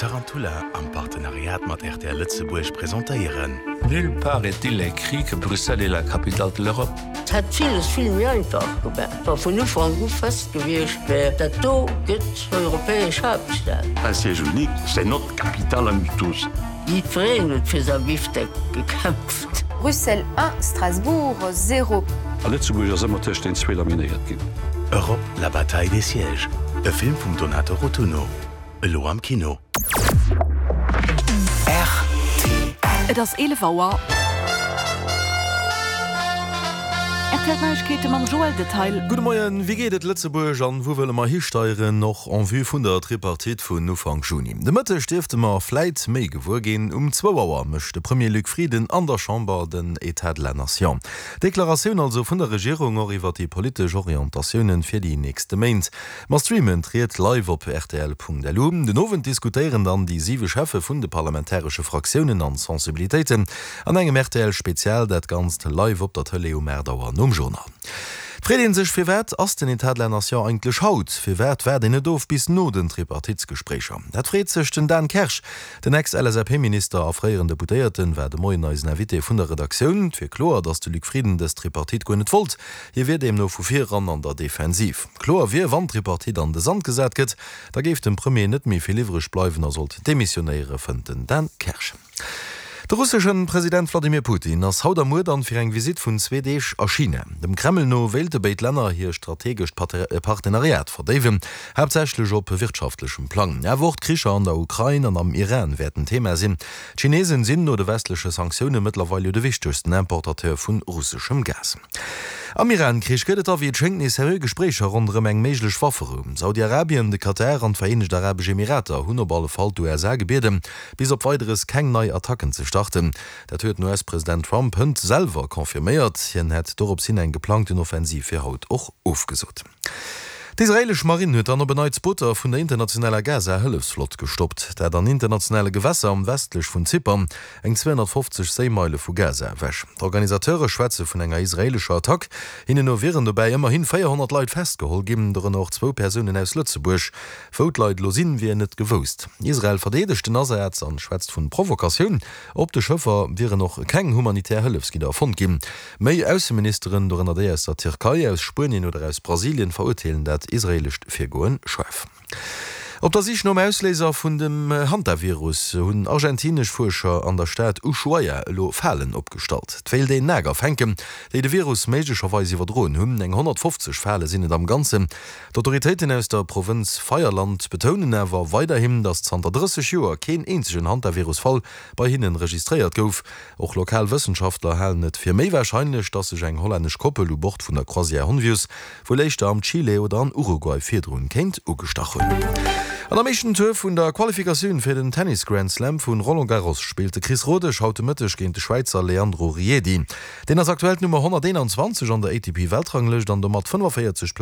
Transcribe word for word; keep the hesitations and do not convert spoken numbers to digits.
Tarantula am Partenariat mat R T L Lëtzebuerg presentéieren. Nulle part est-il écrit que Bruxelles est la capitale de l'Europe. Et hätt villes vill méi einfach gemaach, wa vun Ufank u fest gewiescht wär, dat do gëtt europäesch Haaptstad. Un siège unique, c'est notre capitale à nous tous. Jiddwereen huet fir säi Bifteck gekämpft. Bruxelles un, Strasbourg zéro. A Lëtzebuerg ass ëmmer tëscht den zwee laminéiert ginn. Europe, la bataille des sièges. E Film vum Donato Rotunno. Elo am Kino. Et ass eelef Auer. R T L Neiegkeete mam Joël Detail. Gudde Moien, Wéi geet et Lëtzebuerg an wou wëlle mer histeieren, och en vue vun der Tripartite vun Ufank Juni? De Mëtteg dierfte mer vläit méi gewuer ginn. Um zwou Auer mécht de Premier Luc Frieden an der Chamber den État de la Nation. Deklaratioun also vun der Regierung och iwwer déi politesch Orientatiounen fir déi nächste Méint. Mer streamen d'Ried live op rtl Punkt L U. Den Owend diskutéieren dann déi siwe Cheffe vun de parlamentaresche Fraktiounen an Sensibilitéiten an engem R T L Spezial, dat Ganzt live op der Tëlee um aacht Auer nom Journal. Et freet ee sech, Firwat ass den État de la Nation eigentlech haut? Firwat waart een net of bis no den Tripartitesgespréicher? Dat freet sech den Dan Kersch. Den Ex-L S A P-Minister a fréieren Deputéierten war de Moien eisen Invité vun der Redaktioun. Et wier kloer, datt de Luc Frieden dës Tripartite guer net wollt. Hie wier deemno vu vir eran an der Defensiv. Kloer wier, wann d'Tripartite an de Sand gesat gëtt, da géif dem Premier net méi vill iwwreg bleiwen a sollt demissionéieren, fënnt den Dan Kersch. De russeschen President Wladimir Putin ass haut a muer dann fir eng Visitt vun zwee Deeg a China. Dem Kreml no wéilte béid Länner hir strategescht Partenariat verdéiwen, haaptsächlech op wirtschaftlechem Plang. Awer och d'Kricher an der Ukrain an am Iran wäerten Thema sinn. D'Chinesen sinn no de westleche Sanktioune mëttlerweil jo de wichtegsten Importateur vun russeschem Gas. Am Iran-Krich gëtt et da wéi et schéngt nees seriö Gespréicher ronderëm eng méiglech Wafferou. Saudi-Arabien, de Katar an d'Vereenegt Arabesch Emirater hunn op alle Fall d'U S A gebieden, bis op Weideres keng nei Attacken ze starten. Dat huet den U S-President Trump hënt selwer confirméiert. Hien hätt dorops hin eng geplangten Offensiv fir haut och ofgesot. D'israeelesch Marinn huet dann op en Neits Booter vun der internationaler Gaza-Hëllefsflott gestoppt, dat an internationale Gewässer am westlech vun Zypern, eng zweehonnertfofzeg Séimeile vu Gaza ewech. D'Organisateure schwätze vun enger israeelescher Attack. Hinnen no wieren dobäi ëmmerhi véierhonnert Leit festgeholl ginn, dorënner och zwou Persounen aus Lëtzebuerg. Wou d'Leit elo sinn, wier net gewousst. Israel verdeedegt den Asaz an schwätzt vun Provokatioun. Op de Schëffer wieren och keng humanitär Hëllefsgidder fonnt ginn. Méi Ausseministeren, dorënner déi aus der Tierkei, aus Spuenien oder aus Brasilien, verurteelen dat israeelescht Virgoen schaarf. Op der Sich nom Ausléiser vun dem Hantavirus hunn argentinesch Fuerscher an der Stad Ushuaia elo Falen opgestallt. Et wéilt een Nager fänken, déi de Virus méiglecherweis iwwerdroen hunn. Eng honnertfofzeg Fale sinn et am Ganzen. D'Autoritéiten aus der Provënz Feierland betounen awer weiderhin, datt zanter drësseg Joer keen eenzegen Hantavirus-Fall bei hinnen registréiert gouf. Och lokal Wëssenschaftler halen et fir méi warscheinlech, datt sech eng hollännesch Koppel u Bord vun der Croisière Honvius wuel éischter am Chile oder an Uruguay virdrun kéint ugestach hunn. An am éischten Tour vun der Qualifikatioun fir den Tennis Grand Slam vun Roland Garros spillt de Chris Rodesch haut de Mëtteg géint de Schwäizer Leandro Riedi. Deen ass aktuell d'Nummer honnerteenanzwanzeg an der A T P-Weltranglëscht an domat fënnefenvéierzeg.